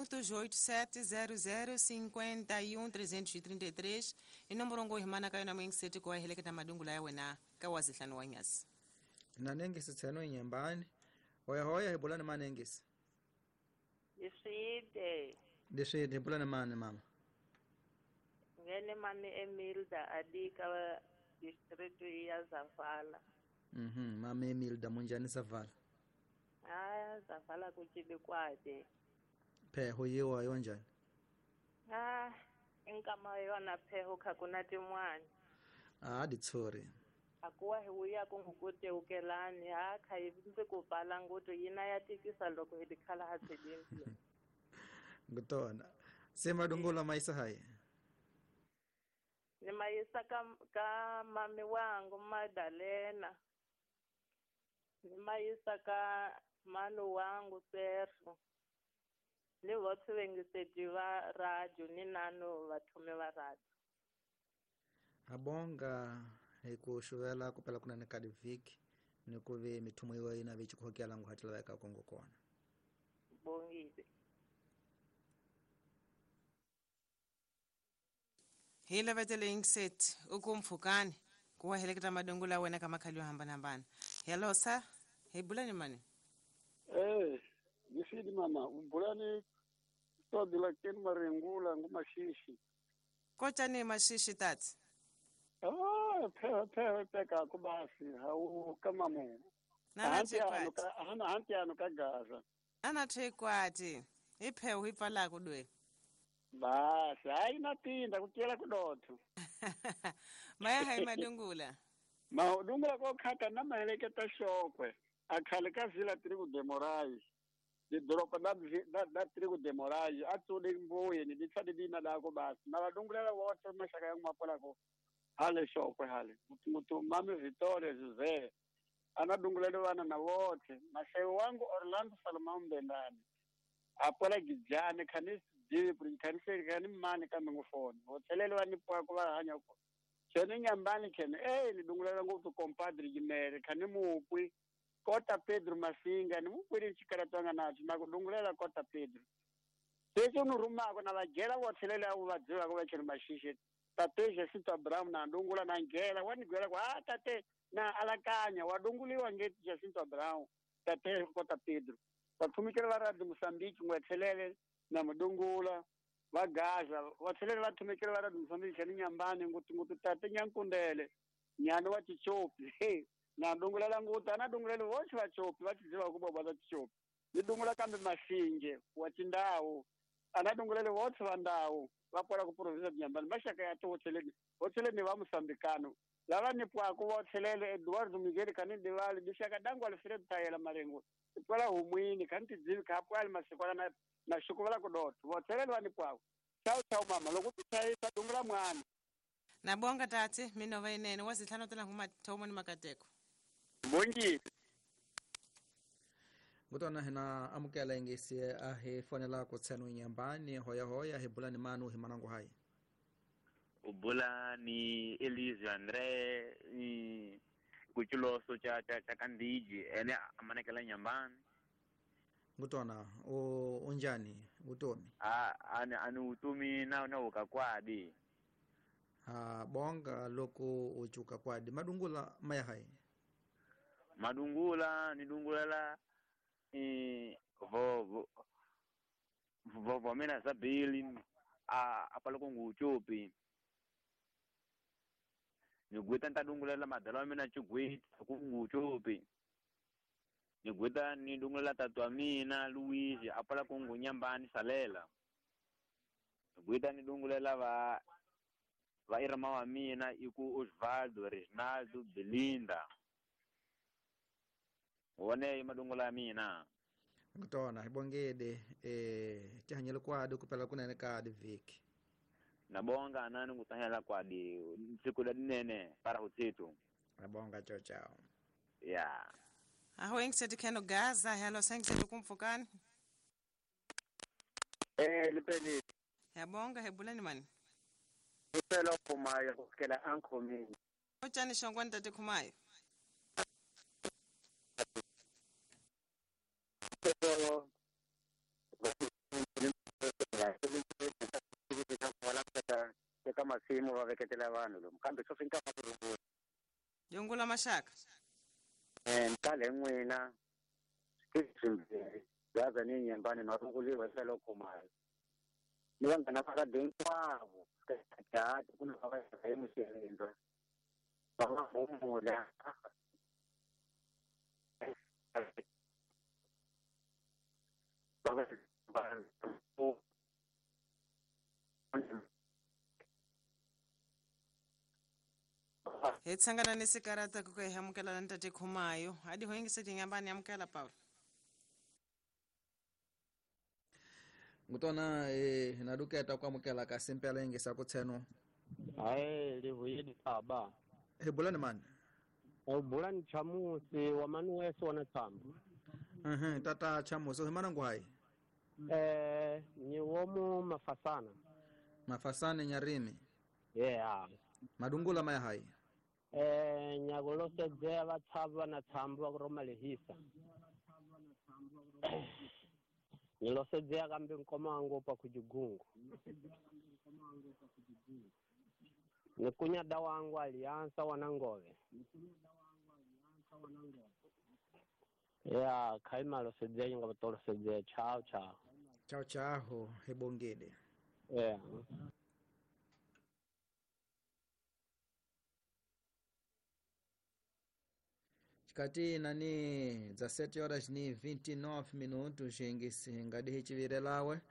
87 00 51 333 i nomboro ngo himana ka yona moyingiseti ku wa heleketa madungula ya wena ka wazihlanu wa nyasi. Nanengisi tseno inyembani. Hoya hoya hi bula ni manengisi. Leswide. Leswide hi bula ni mani mama? Ngene mami Emilda adika district ya Zavala. Mama Emilda munjani Zavala? Ah, Zavala kuchibe kwade. Pheho yiwa yonjani? Ah, inkama yona pheho khakuna tin'wana. Ah, ditsori. Akuwa hi wuya ku ngukute ukelani ha kha yi ndzi ku pala ngutu yina ya tikisa loko hi dikhala ha tshedimpi. Ngutona. Se madungula maisa hayi. Ni mayisa ka mami wangu Madalena. Ni mayisa ka malu wangu Sergio. Ni votse vengiseti va radio ni nano vathume va radio. Habonga hi ku xuvela ku pela kunene ka divhiki ni ku ve mithumo yiwa yina ve chikhokela ngu hatlela eka Kongo kona. Bongile. Hi lavetele yingiseti u ku mpfhukani ku wa heleketa madungula wena ka makhali yo hambanahambana. Hello sir, hi bula ni mani? Nisidi mama, ubulani todila ken maringula ngumashishi. Kocha ni mashishi tati? Ah, phe peka kubasi hau kama mu. Nana thekwati. Hana hanti ano ka Gaza. Ana thekwati. Iphe uhipfala kudwe. Basi, hayi natinda kutyela kudotho. Maya hayi madungula. Madungula ko khata na maheleketa xokwe. Akhale ka vila Trigo de Moraes. Didoropa da Trigo de Moraes a tsule mbuye ni ditsa dina dako basi. Na vadungulela wote mashaka yangu mapolako. Hale xokwe hale. Mutu mami Victoria José. Anadungulele vana na wote. Mashewu wangu Orlando Salomão Mbendane. Apola gijane khanisi divi khanisi khani mani kambe ngufoni. Vothelele va ni pwa ku va hanya ko. Chene nyambani khene ni dungulela ngopfu compadre Jimere khani mupwi. Kota Pedro Masinga ni mupwiri xikaratwanga nacho na ku dungulela Kota Pedro. Sese ni rumako na vagela vothelele avo va dzivako va chene mashishi. Tate Jacinto Abraham na dungula na ngela wa ni gwela ku ah tate na alakanya wa dunguliwa ngeti Jacinto Abraham tate Kota Pedro. Vathumikele va radio Mozambique ngwethelele na mudungula va Gaza vathelele va thumikele va radio Mozambique chene nyambani ngutu tate Nyankundele nyana wa Chichopi. Na dungulela ngutu ana dungulele voxe va Chopi va tiziva ku boba ta Chichopi. Ni dungula kambe Masinge wa Tindhawu ana dungulele voxe va ndhawu va pola ku province ya Nyambani maxaka ya to votheleni va Mozambikano lava ni pwaku vothelele Eduardo Miguel khani Divali dixaka dangu Alfredo Tayela Marengo twala humwini khani tidzivi kha pwali masikwana na xikuvala ku dotho vothelele va ni pwaku. Chau chau mama loko ti chayisa dungula mwana. Na bonga tate minova inene wazihlanu tela nguma thomo ni makateko. Bongi. Ngutona hina amukela ingisi a hi fonela ku tseno nyambani hoya hoya hi bula ni manu hi manangu hayi. Ubula ni Elise Andre ni kuchuloso cha cha cha kandiji ene amanekela nyambani. Ngutona o unjani utomi? Ah ani utumi na ukakwadi. Ha bonga loko uchuka kwadi madungula maya hayi. Madungula ni dungulela vo mina sabili a apaloko nguchupi. Ni gwita nta dungulela madala wa mina chugwita ku nguchupi. Ni gwita ni dungulela tatu wa mina Luigi apaloko ngunyambani salela. Ni gwita ni dungulela va irma wa mina iku Osvaldo Reginaldo Belinda. Wone madungula mina. Ngitona hibongede tihanyela kwadi kupela kunene ka diviki. Nabonga anani ngutahela kwadi siku la dinene para hutsitu. Nabonga chao chao. Yeah. Aho engiseti kheno Gaza hello sengiseti kumfukani. Lipeni. Yabonga hebulani mani. Ngicela Khumayo kusukela Ankhomini. Utshani shongwane tate Khumayo. masimu va veketela vanhu lomu kambe swo fika ku rungula. Yungula maxaka. Nkale n'wina swimbirhi gaza ni nyembani marunguliwa tlhelo khumalo. Ni vanghana va ka hinkwavo ka ku na va va musirindza. Va va humula. Hi tshangana ni sikarata ku ka hi amukela na ntate Khumayo. A di hoyingise tinyambani amukela Paulo. Ngutona na duketa ku amukela ka simpela yingisa ku tsheno. Hayi livuyini baba. Hi bulani mani? U bulani Chamusi wa Manuweso wa Tshamba. Tata Chamusi hi mana ngwayi? Ni womu Mafasana. Mafasana Nyarimi. Yeah. Madungula maya hayi. Nyakulosedzea vatshava na tshamba va ku roma lehisa. Nilosedzea kambe nkomango pa kujigungu. Nikunya wangu aliansa wanangove. Ya kaima losedzea nyinga batolosedzea chao chao. Chao chao hebongede. Yeah. Kati nani 17 horas ni 29 minutos engisi ngadi hichivirelawe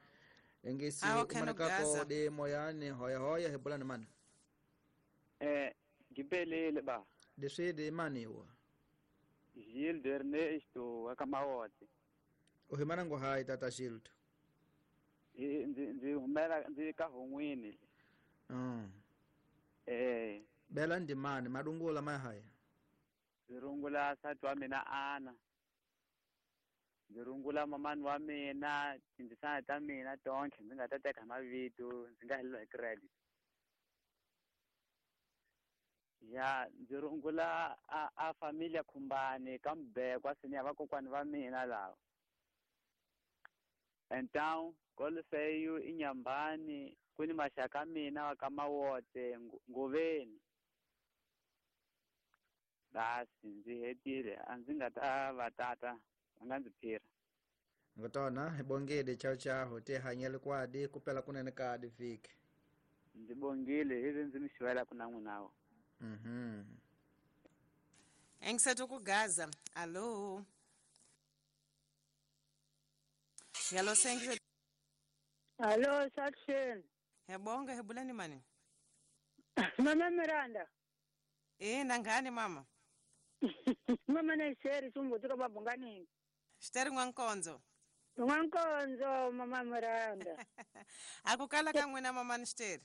engisi umanakako de moyane hoya hoya hebulani mana ngipelele ba deswede maniwa Gildo Ernesto akamawote uhimana ngo hai tata Gildo ndi humela ndi ka hongwini bela ndimani madungula mahaya Ndzi sati wa mina Ana. Ndzi rungula mamani wa mina, tindzisana ta mina tonke ndzi nga ta teka mavito, ndzi nga heleriwa hi credit. Ya ndzi rungula a familia Khumbani ka Mbekwa senior vakokwani va mina lava. Então Golfeyu inyambani ku ni maxaka mina wa ka Mawote Ngoveni. Basi ndzi hetile a ndzi nga ta va tata va nga ndzi phira. Ngotona hi bongile chao chao te hanyele kwadi kupela kunene kadi vhiki. Ndzi bongile hi ndzi mi xivela ku na n'winawo. Engisetho ku Gaza. Allo. Yalo sengisetho. Allo Sakshen. Hebonga hebulani mani? Mama Miranda. Nangani mama? Mama na sheri sumbutuka babungani. Xiteri n'wankonzo. N'wankonzo mama Miranda. Akukala ka n'wina mama ni xiteri?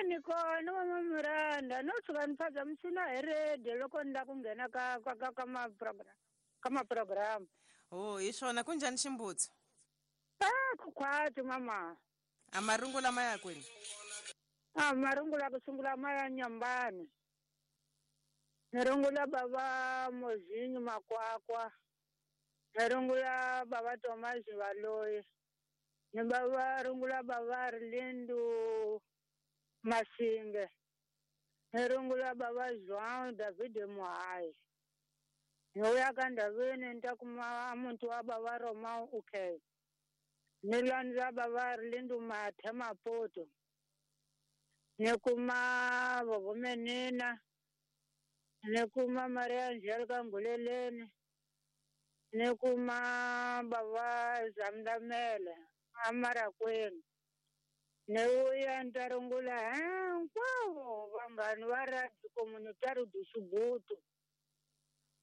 Ni kona mama Miranda no tshuka ni phazamisina hi radio loko ni lava ku nghena ka ka ka ka ma program ka ma program. Oh, hi swona ku njhani ximbutsu? Ku khwati mama. A marungula ma ya kwini? Marungula ku sungula ma ya Nyambani. Ni rungula baba Mozinyo Makwakwa. Ni rungula baba Thomas Valoyi. Ni baba rungula baba Lindu Masinge. Ni rungula baba João David Muhai. Ni uya ka Ndavini ni ta kuma muntu wa baba Roma UK. Ni landza baba Lindu Mathe Maputo. Ni kuma Vovo Menina. Ni kuma Maria Angelica Nguleleni. Ni kuma baba Zamdamele Amarakwenu. Ni uya ni ta rungula hinkwavo vanghani va Radio Comunitario do Xibutu.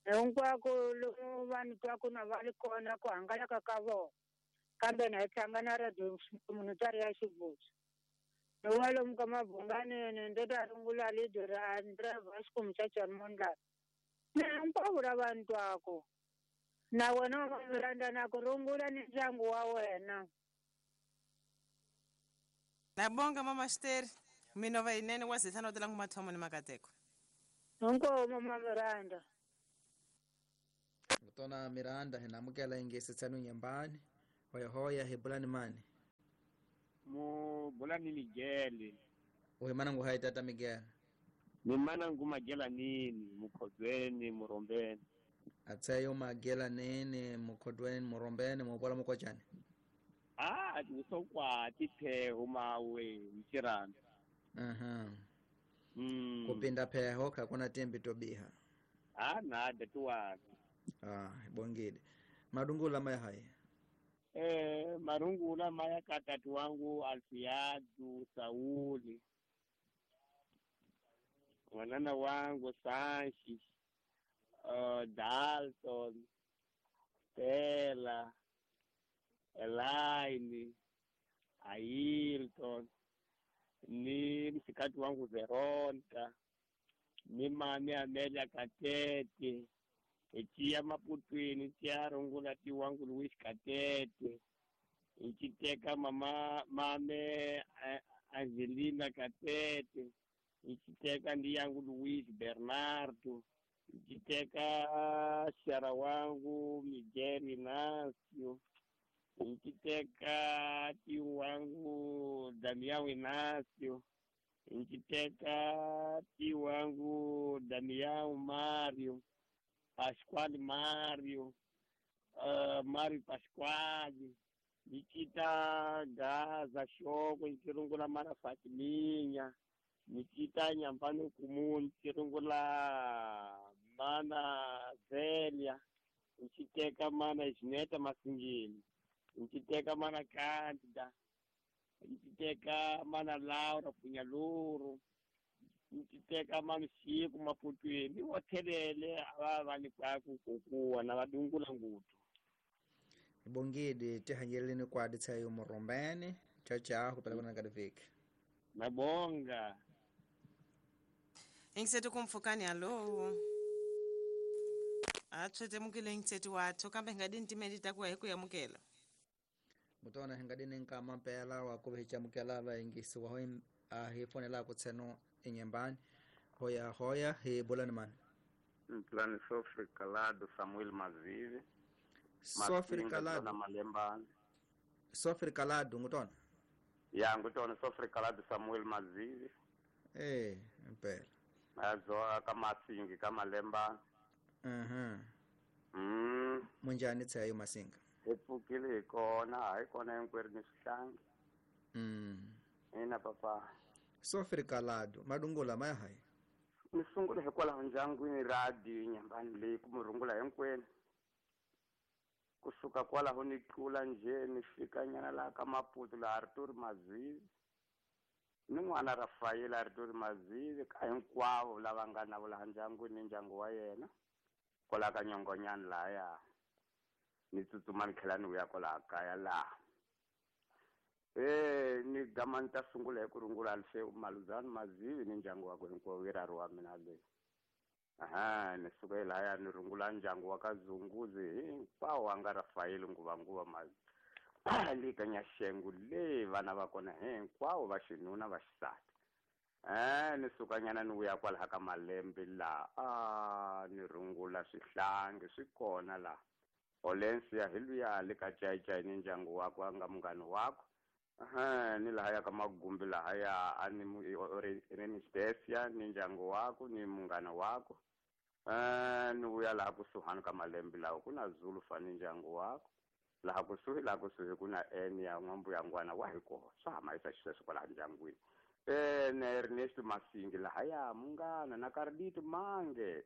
Hinkwako lomu vanhu twaku na va ri kona ku hangalaka ka vona. Kambe na hi tlanga na Radio Comunitario ya Xibutu. Ni wa lomu ka Mabunganeni ndzi ta rungula leader André Vasco Mchachani Mondlane. Ni hinkwavo lava ni twaku. Na wena mama Miranda na ku rungula ni ndyangu wa wena. Nabonga mama Xiteri. Minova yinene wa zithano tela ngumathomo ni makateko. Hinkwavo mama Miranda. Ngutona Miranda hi namukela ingesi tsanu nyambani. Hoya hoya hi bulani mani. Mu bulani Ligele. Uhimana ngu hai tata Miguel. Ni mana ngu magela nini mukhodweni murombeni. Atsayo magela nene mukhodweni murombeni mupola mukochani. Ah, usokwa tipheho mawe mchirana. Aha. Kupinda pheho kakuna tembi tobiha. Ah, nada tuwa. Ah, bongide. Madungula maya hai. Marungula maya katatu wangu Alfiadu Sauli. Wanana wangu Sanchi, Dalton, Stella, Elaine, Ailton, ni msikati wangu Veronica, ni mami Amelia Katete, ichiya Maputwini, ichiya rungula ti wangu Luis Katete, ichiteka mama mame Angelina Katete, ichiteka ndi yangu Luis Bernardo, ichiteka shara wangu Miguel Inácio, ichiteka tio wangu Damião Inácio, ichiteka tio wangu Damião Mário, Pascoal Mário, Mário Pascoal, ichita Gaza Shoko, ichirungula Mara Fatiminha, nichita Nyambano Kumu, nichirungula Mana Zélia, nichiteka Mana Isneta Masingini, nichiteka Mana Cândida, nichiteka Mana Laura Punyaluru, nichiteka Mano Chico Maputwini, wothelele ava vanikwaku kukuwa na vadungula ngutu. Bongidi tihanyeleni kwadi tsayo murombeni. Tchau tchau, kupela kuna kadiviki. Mabonga. Ingisetu kumfukani alo. Atshwete mukile ingisetu wathu kambe ngadini timedi takuwa hikuyamukela. Mutona hingadini nkama mpela wakuve hichamukela va ingisi wa hoi hifonela kutseno inyembani. Hoya hoya hi bolani mani. Mplani Sofri Kalado Samuel Mazivi. Sofri Kalado Malembani. Sofri Kalado ngutona. Ya ngutona Sofri Kalado Samuel Mazivi. Mpela. Azoa kama Masingi kama Lembani. Munjani tsayo Masinga. Epfukile kona hayi kona hinkwerhu ni swihlangi. Ina papa. Sofri Kalado madungula maya hayi. Ni sungula hikwalaho ndyangwini radio Nyambani leyi ku murungula hinkwenu. Kusuka kwalaho ni tlula nje ni fika nyana laha ka Maputo laha Arthur Mazivi ni n'wana Rafael Arthur Mazivi ka hinkwavo lava nga na laha ndyangwini ni ndyangu wa yena kwalaha ka Nyongonyani lahaya ni tsutsuma ni tlhela ni vuya kwalaha kaya laha. Ni gama ni ta sungula hi ku rungula Alfeu Maluzani Mazivi ni ndyangu wakwe hinkwawo i rari wa mina leyi. Aha, ni suka hi lahaya ni rungula ndyangu wa ka Zunguzi hinkwawo a nga Rafael nguvanguva Mazivi le ka Nyaxengu le vana va kona hinkwavo va xinuna va xisati. Ni suka nyana ni vuya kwalaha ka Malembe laha ni rungula swihlangi swi kona laha. Olencia hi luya le ka Cayicay ni ndyangu wakwe a nga munghana wakwe. Ni lahaya ka Magumbi lahaya a ni Renistesia ni ndyangu wakwe ni munghana wakwe. Ni vuya laha kusuhani ka Malembe laha ku na Zulu fa ni ndyangu wakwe. Laha kusuhi ku na Enia n'wambuyangwana wa hi kona swa hamayisa xisweswo kwalaha ndyangwini. Na Ernesto Masingi lahaya munghana na Carlito Mange.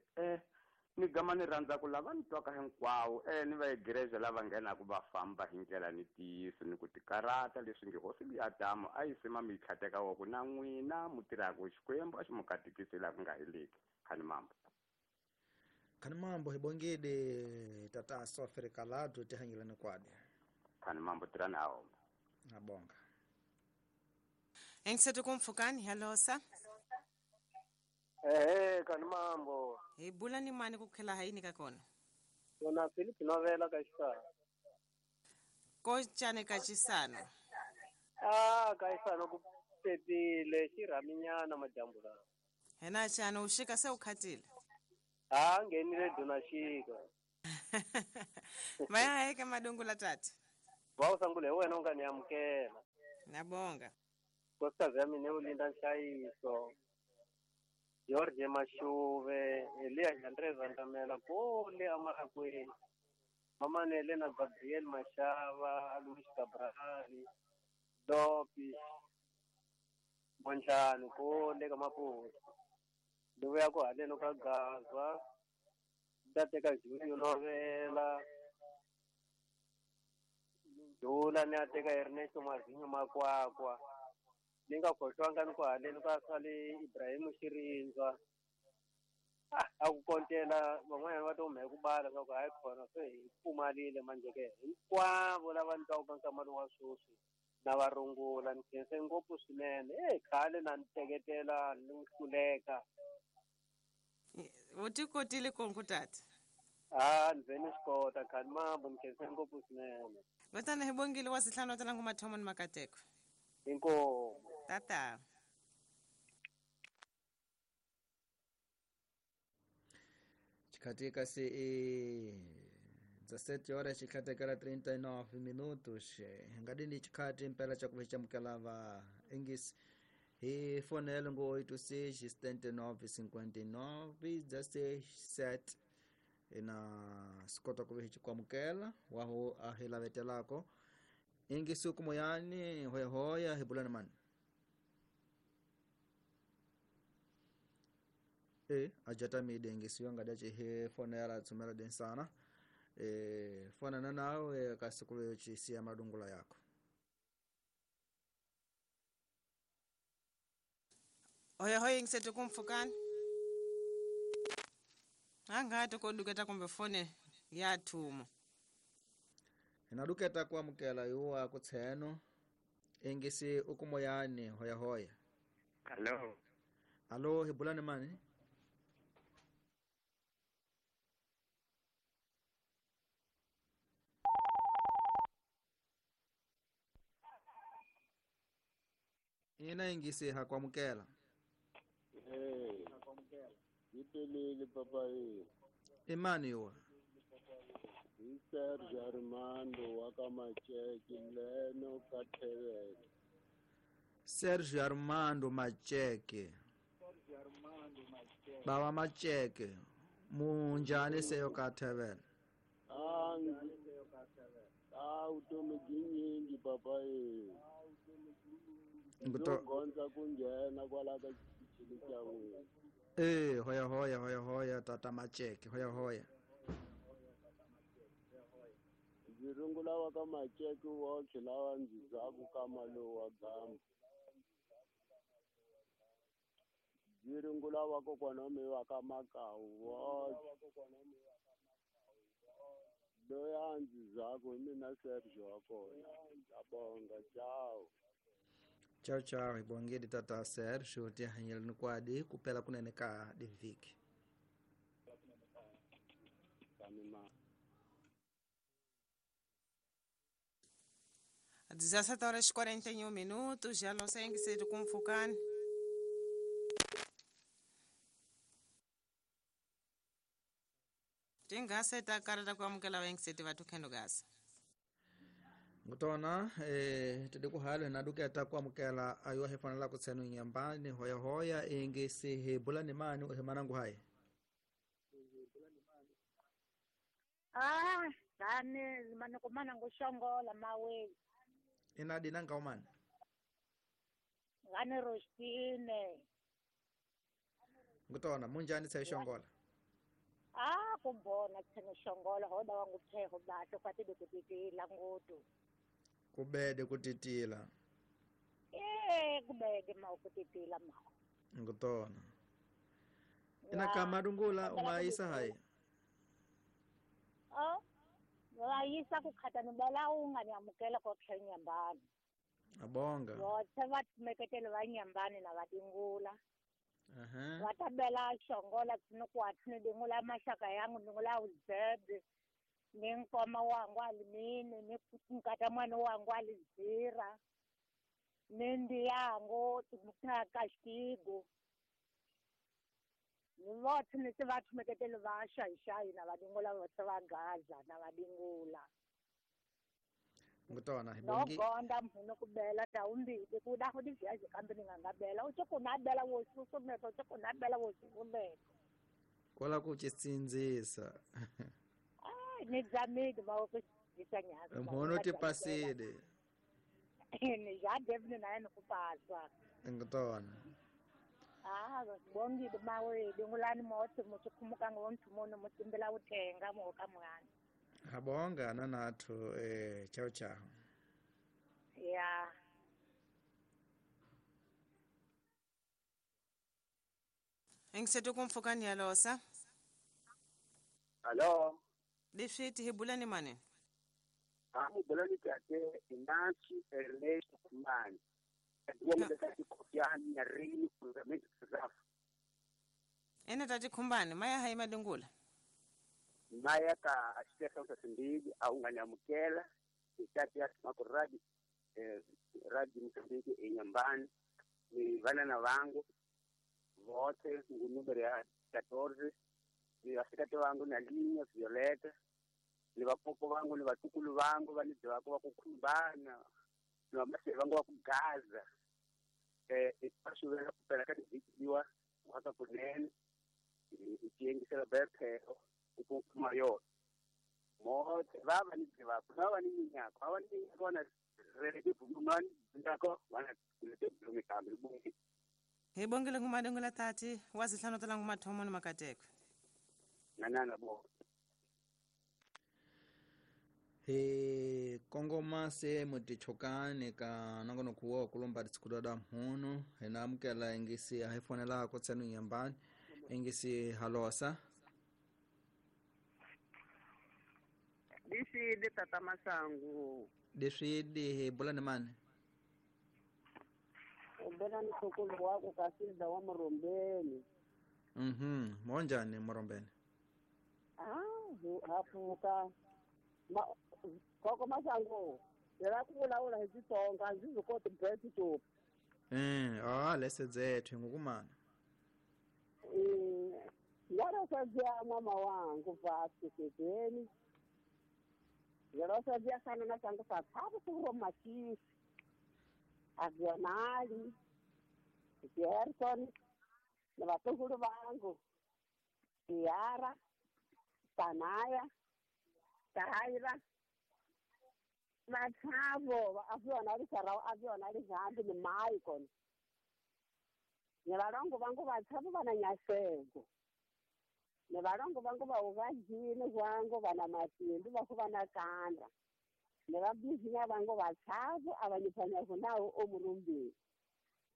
Ni gama ni rhandza ku lava ni twaka hinkwawo ni va igreja lava nghenaku va famba hi ndlela ni ntiyiso ni ku tikarata leswi nge hosi luya Adamu a yi sima mi yi tlhateka wa ku na n'wina mu tirhaka Xikwembu a xi mu katekisi laha ku nga heleki. Khani mambo. Khani mambo hi bongile tata Sofri Kalado tihanyeleni kwadi. Khani mambo tirhani a homba. Ngabonga. Engisetu kumfukani halosa. Khani mambo. Hi bula ni mani ku khela hayini ka kona. Yona Philip Novela ka Xisano. Ko cane ka Xisano. Ka Xisano ku pepile xirhaminyana madyambu lawa. Hena xana u xika se u khatile? Nghenile duna xika. Maya heke madungula tata. Va u sangule hi wena u nga ni amukela. Nabonga. Nkosikazi ya mina Ulinda Nhlayiso, George Mashuve, Eliya Andreza Ndamela kule Amarakweni, Mamanele na Gabriel Mashava, Luis Cabral, Lopi Monjani kule ka Maputo. Ni vuya ku haleni ka Gaza, ni ta teka Julio Novela, Dula ni ya teka Ernesto Mazinyo Makwakwa. Ni nga khohlwanga ni ku haleni ka swale Ibrahim Xirindzwa. A ku kontela van'wanyana va to hume ku bala swa ku hayi khona se hi pfumalile manje ke hinkwavo lava ni twaka nkama lowu wa sweswi na va rungula ni khense ngopfu swinene. Khale na ni teketela ni hluleka. U ti kotile konku tata? Ni ve ni swi kota khani mambo ni khense ngopfu swinene. Kutani hi bongile wa sihlanu wa talangu mathomo ni makateko. Inkomu. Tata. Chikatika se 17 horas chikatekela 39 minutos. Ngadini chikati mpela cha kuvecha mkalava ingis hi fonele ngo 86 79 59 17 ina sikota kuvecha kwamukela waho ahilavetelako ingisi kumoyani hoya hoya hibulana mani ajata mide ingisi yonga dache he fonela tsumela densana fona nawe kasikuwe chisia madungula yako. Hoya hoya ingisetu kumfukani anga tukoduketa kumbe fone ya thumo inaduketa kwamukela yuwa kutseno ingisi ukumoyani hoya hoya. Hello. Alo hibulani mani? Ina ingisi hakwamukela. Ipelele papa Imani yuwa. Sergio Armando wakamacheke leno kathevele. Sergio Armando Macheke. Baba Macheke. Munjani seyo kathevele. Utomi byinyingi papa Gonza kunjena kwala ka xichini xa wena. Hoya hoya hoya hoya tata Macheke hoya hoya. Ndzi rungula wa ka Macheke wotlhe lawa ndzi zaku ka malowu wa gamba. Ndzi rungula wa kokwana wa mina wa ka Makawu wotlhe. Loyi a ndzi zaku hi mina Sergio wa kona. Ngiyabonga, ciao. Ciao ciao, ibongedi tata Sergio tihanyeleni kwadi kupela kunene ka diviki. Kanima. 17 horas 41 minutos, já não sei em que ser kumfukani. Tingase takarata kuamukela vengiseti vatu khendo gasa. Ngutona tidi kuhalo naduketa kuamukela ayo hefanela kutsenu nyambani hoya hoya ingisi hebulani mani uhemanangu hai. Dani manakumana ngushongola mawe. Inadi nanga umani? Ngane Rostine. Ngutona munjani sayishongola? Kumbona tsene shongola hoda wangu pheho batho kwatidi kutitila ngutu. Kubede kutitila. Kubede ma kutitila ma. Ngutona. Ina kamadungula ungaisa hai. Wayisa kukhata nibala unganiyamukela kotlhe nyambani. Abonga. Vothe va meketele va nyambani na vadingula. Vatabela shongola tsinokwathu ni dingula maxaka yangu dingula uzebe ni nkoma wangu alimini ni nkata mwana wangu alizira ni ndi yangu kaxitigo ni vothe ni se va thumeketele va xayixayi na vadingula vothe va Gaza na vadingula. Ngutona hibongi. No gonda mhuno kubela tawumbili kuda ho diviaje kambe ningangabela utsho kunabela wo susumeta utsho kunabela wo susumeta. Kola ku chisinzisa. Ai nizamile ma ku chisanya. Mhono ti pasile. Ni ja devne naye nokupaswa. Ngutona. Ah, bongile mawe dingulani motho motho khumuka ngomthumono motimbela uthenga mo ka mwana. Habonga nanathu chao chao. Yeah. Engisethu kumfukani yalosa. Hello. Leswithi hibulani mane. Amubulani tate Inachi Ernesto Kumani. Ene tati khumbani maya hayi madungula. Maya ka xihloso simbili awunganyamukela itati ya makuradi radi Mozambique enyambani ni vana na vangu vote ngunumero ya 14 ni vasikati vangu na Linya Violeta ni vapopo vangu ni vatukulu vangu vanidzi vako vakukhumbana ni vamaseve vangu vakugaza pasuvela kupela ka tivikiwa waka kunene tiyengisela bephelo ukuma yona mothe va va ni tivako va va ni minyako va va ni minyako va na rele tibulumani ndako va na tibulumi kambe bungi hi bongile ngumadungula tati wa zihlanu tala ngumathomo ni makateko nanana bo hi kongoma se mutichokani ka nongonoko wo kulomba tsikudada mhunu hi na amukela ingisi a hi fonelako tsenu nyambani ingisi halosa Leswi tata Masangu. Leswi hi bulani mani? U bela ni sokolo wako Kasilda wa Murombeni. Monjani Murombeni? Ah, hafuka. Ma koko Masangu. Yela ku vulavula hi Xitsonga ndzi swi koti best to. Lese zethu ngukumana. Ngara sazia mama wangu vasu kebeni. Ngara sazia sana na sangu sa thabu ku machisi. Avionali. Gerson na vatukulu vangu. Tiara, Tanaya, Taira. Vathavo avionali sarau avionali zambi ni Michael. Ni valongo vangu vathavo vana nyasego. Ni valongo vangu va uvajini vangu vana matimbi va ku vana kanda. Ni vabizinya vangu vathavo avanyifanyako nawo omurumbini.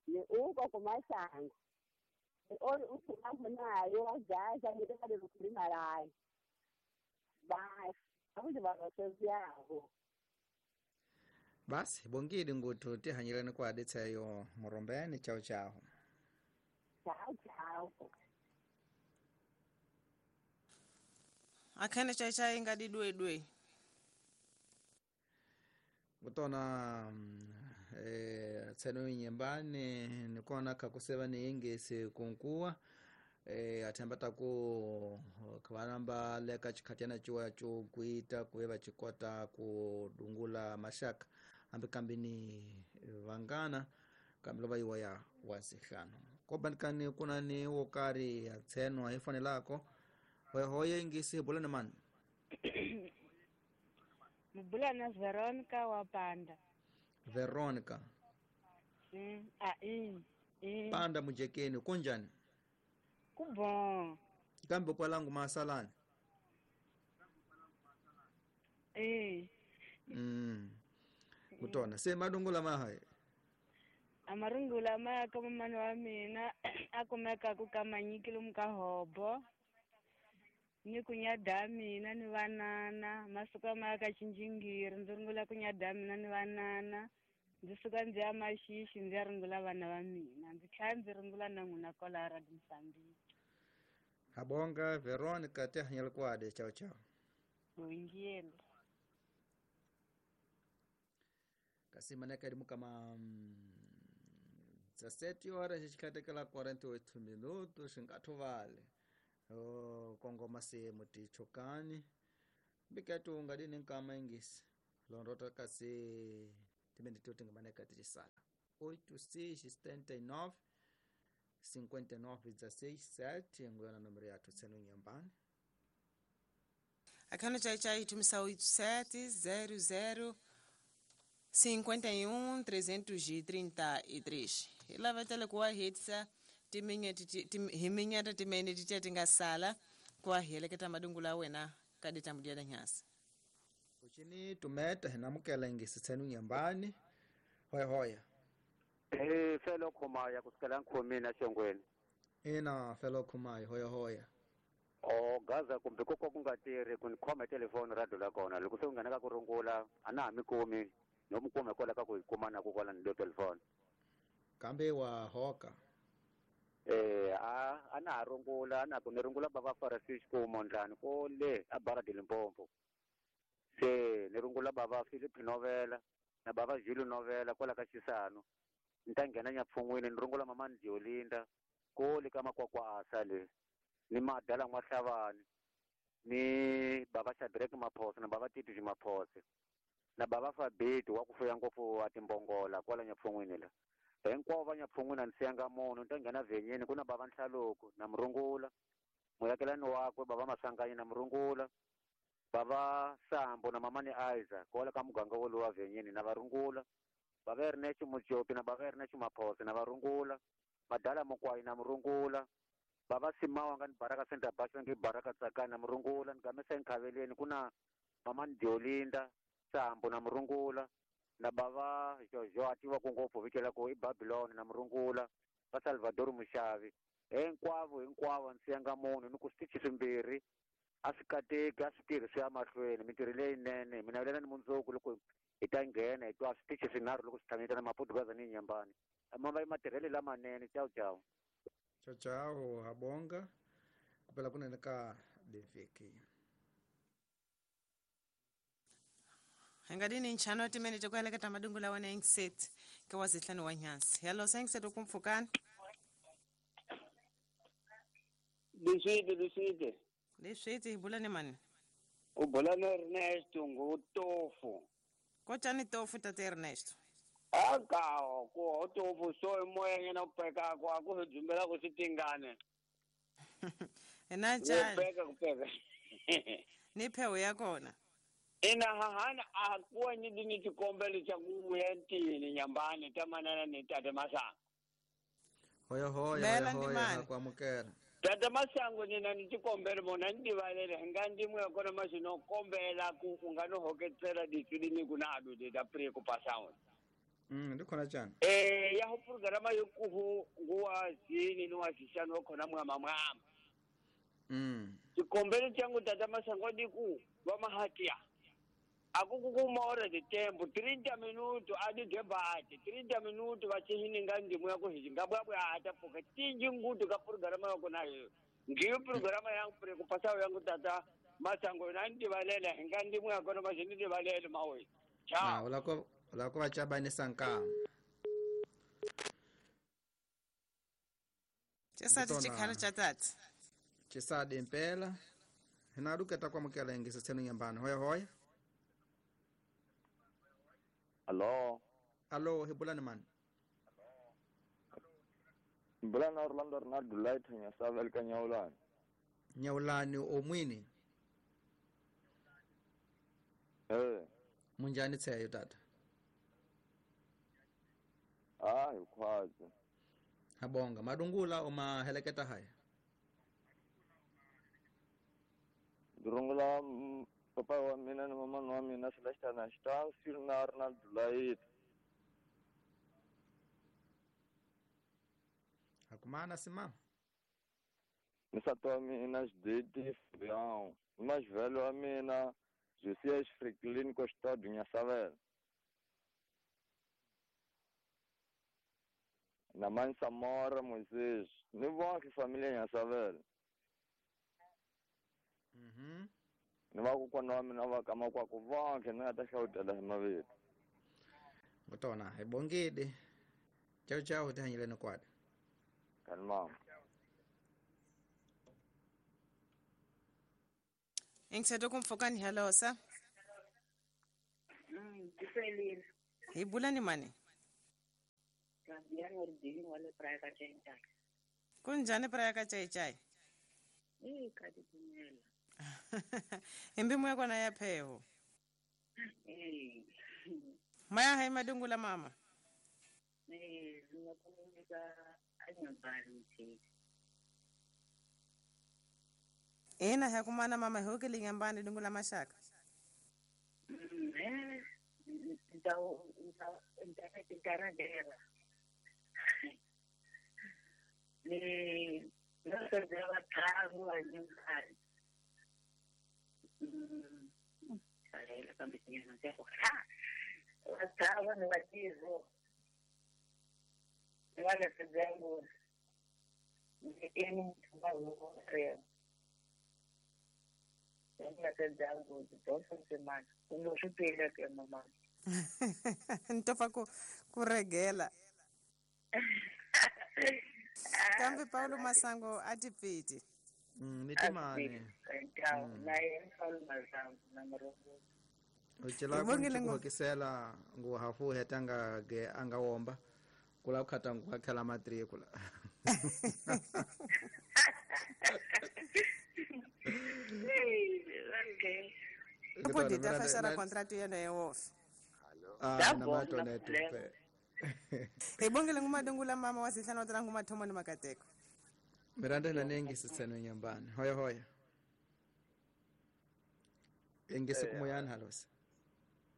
Ni uko kumasango. Ni ori usumaho nayo vajaza ni vale lukulima layo. Basi akuti varosevyavo. Basi bongile nguthu tihanyelani kwa adetsayo Murombeni. Chao chao. Chao chao. Akhene chai chai ngadi dwe dwe. Kutona tseno nyembani nikona kakuseva ni ingesi kunkuwa athembata ku khavanamba leka chikhatyana chiwa cho kuita kueva chikota ku dungula mashaka hambi kambi ni vangana kambi lova yiwa ya wasihlanu kobanikani kuna ni wokari ya tseno ayifanelako hoyehoye ingisi bulani mani. Mubulana Veronica wa Panda. Veronica. Panda mujekeni kunjani? Kubon. Kambe kwalangu masalani. Kutona se madungula mahaye. Amarungula maya kama mani wa mina akumeka kukamanyikile mukahobo. Ni kunyada mina ni vanana masuka maya ka chinjingiri ndzi rungula kunyada mina ni vanana ndzi suka ndzi ya maxixi ndzi ya rungula vana va mina ndzi tlhela ndzi rungula na n'wina kwala Radio Mozambique. Habonga Veronica tihanyela kwade. Chao chao. Bongile. Kasi maneka ri mukama 17 horas xikhatekela 48 minutos xingathovale. Kongoma se mutichokani biketu ungadini nkama ingisi Londota kasi timene tingamaneka tichisala 8679 59 16 7 nguyona nomero yathu tsenu nyambani. Akhano chai chai tumisa 8700 51 333. Ilavetele kuwa hitsa himinyata timene titiya tingasala kuwa heleketa madungula wena kadi tambudia nyasi. Uchini tumeta hinamukela ingisi tsenu nyambani. Hoya hoya. Felo khumaya kusukela nkhomini xongweni. Ina felo khumaya hoya hoya. O gaza kumbe koko kungatiri kunikhoma telefoni radio la kona loko se u nghena ka ku rungula a na ha mi kumi no mi kume kwala ka ku hi kuma na ku kwala ni lo telefoni. Kambe wa hoka. A na ha rungula na ku ni rungula bava Farasish ku Mondlani ko le a Barra de Limpopo. Se ni rungula bava Philip Novela na bava Jules Novela kwala ka Xisano. Ni ta nghena Nyapfun'wini ni rungula mama Ndiolinda ko le ka Makwakwa asa le. Ni madala N'wahlabani ni baba Shadrack Maphosa na baba Tito Maphosa na baba Fabeti wa ku fuya ngopfu a timbongola kwala Nyapfun'wini la. Hinkwavo va Nyapfun'wini a ni siyanga munhu ni ta nghena vhenyeni ku na baba Nhlaloko na murungula muyakelani wakwe baba Maswanganyi na murungula baba Sambo na mama ni Isaac kwala ka muganga wolowo wa vhenyeni na varungula baba Ernest Mujopi na baba Ernest Maphosa na varungula madala Mukwayi na murungula baba Simawa nga ni Baraka Center Bus ngi Baraka Tsakana na murungula ni gamesa enkhaveleni ku na mama Ndiolinda Sambo na murungula na baba Jojo a tiva ku ngopfu vito ku i Babylon na murungula va Salvador Mushavi hinkwavo hinkwavo ni siyanga munhu ni ku switichi swimbirhi a swi kateki a swi tirhi swi ya mahlweni mintirho leyinene mina vulela ni mundzuku loko hi ta nghena hi twa switichi swinharhu loko swi tlhamita na Maputugaza ni Nyambani mamba i matirhelo lamanene ciao ciao. Ciao ciao habonga kupela kunene ka Benfica. Hangadini nchano timene tokueleketa madungula wana engset ke wazihlanu wa nyansi. Hello sengset ukumfukani. Liswite. Liswite ibulane mani. Ubulane Ernesto ngutofu. Kochani tofu tate Ernesto. Akao ko tofu so moya ngena upeka kwa ku jumbela ku sitingane. Ena chani. Upeka kupeka. Ni phewu ya kona. Ina hahana akuwa ni tikombelo cha kuvuya ntini Nyambani tamanana ni tate Masango. Hoya hoya hoya kwamukela. Tata Masango nina ni tikombelo mona ndivalele nga ndimwe kona masino kombela ku ungano hoketsela ditswini kunado de da pre ku pasawo. Ndikhona tjani. Ya ho programa yokuhu nguwa zini ni wazishano khona mwama mwama. Tikombelo changu tata Masango diku wa mahatia. Akukukuma de tempo 30 minutos adi debate 30 minutos vachihini nga ndimo yako hingabwabwa atapoka tinji ngutu ka programa yako nayo ngiyo programa yangu pre kupasa yangu tata Masango nandi valela nga ndimo yako no mashini valele mawe. Ciao. Ulako vachabani sanka. Chesati chikhala chatati. Chisadi impela. Hinaduketa kwamukela ingisa tsenu Nyambani. Hoya hoya. Allo. Allo, hibulani man. Bulana Orlando Arnaldo Light nyasava ka Nyaulani. Nyaulani omwini. Munjani tseyo tata? Ah, ikwazi. Habonga madungula uma heleketa haya. Durungula papa wa mina na mama wa mina Celeste na Star na Arnaldo Light. Akumana simama. Nsati wa mina Xididi Fabião, mais velho wa mina Josias Franklin Custódio Nyasavela. Na mãe Samora Moisés, ni vonke família Nyasavela. Ni vakokwana wa mina va ka makwako vonke ni nga ta hlawutela hi mavito. Ngotona hi bongile. Ciao ciao tihanyeleni kwada. Kalma. Engithethe kumfokani hello sa. Ti felile. Hi bula ni mani? Fabiano Ordini wa le Praia ka Chaychai. Kunjhani Praia ka Chaychai? E ka titimela. Hi mbimu ya kona ya pheho. Eh. Maya hai madungula mama. Eh, ndzi nga kombisa anyambani mtheki. Ina hi kumana mama hi hokele nyambani dungula maxaka. Eh, nta nta nta nta Ni nasedzela vatlhangu va nyimkhari. Chalela kambe tinyana ta ku ha. Vatlhangu ni vatizo. Ni va lesedzela ngopfu. Ni eni muthu wa huku rero. Ni lesedzela ngopfu dyondzo ndzimana. Kumbe swi twile ke mama. Ntofa ku regela. Kambe Paulo Masango a tipfiti. Ni timani. Na yena Paulo Masango na Murongo. U cela ku hokisela ngu hafu heta nga ge anga womba. Kula khata ngu khela matrikula. Loko di ta fexara contract yena ya wofe. Ah, na matona tupe. Hi bongele ngumadungula mama wa sihlanu wa tala ngumathomo ni makateko. Miranda na nengi sitseno nyambani. Hoya hoya. Engisi kumoyani halosi.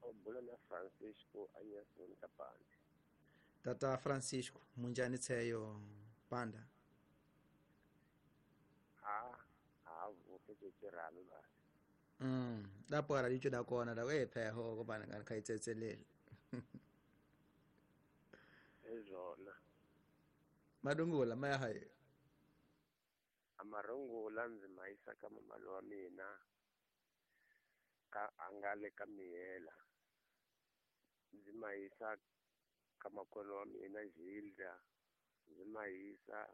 Obula na Francisco Anyason Kapande. Tata Francisco munjani tseyo panda. Ha, ha vuke tshiralo ba. Lapho ara licho dakona da we pheho kobana ngani khayitsetselele. Ezona. Madungula maya hayi. Amarungula ndzi mayisa ka mamalo wa mina ka angale ka miyela. Ndzi mayisa ka makono wa mina Gilda. Ndzi mayisa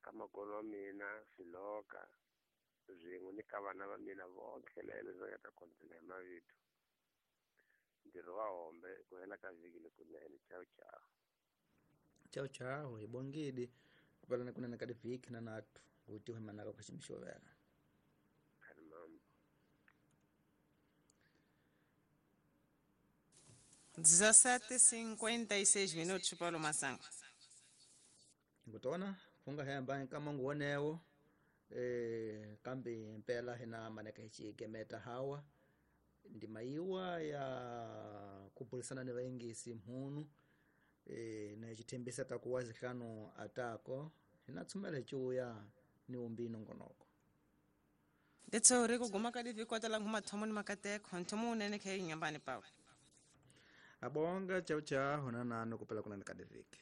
ka makono wa mina Siloka. Swin'we ni ka vana va mina vonke lele ndzi nga ta kontela hi mavito. Ntirho wa hombe ku hela ka vhiki lekunene. Ciao ciao. Ciao ciao hi bongidi kupelana kunene ka divhiki na nathu kuti humanaka kwa ximixovela. Khani mambo. 17:56 minutos Paulo Masango. Ngutona funga hemba nkamangu wonewo. Kambe mpela hina maneka hichi gemeta hawa ndimaiwa ya kubulisana ni vaingisi mhunu na chithembisa takuwazi hlanu atako hina tsumela hichiuya ni umbino ngonoko. Ndetsori kuguma ka divi kwatala ngumathomo ni makateko nthomo unene khe nyambani Paulo. Abonga chau chau hona nano kupela kuna nikadiviki.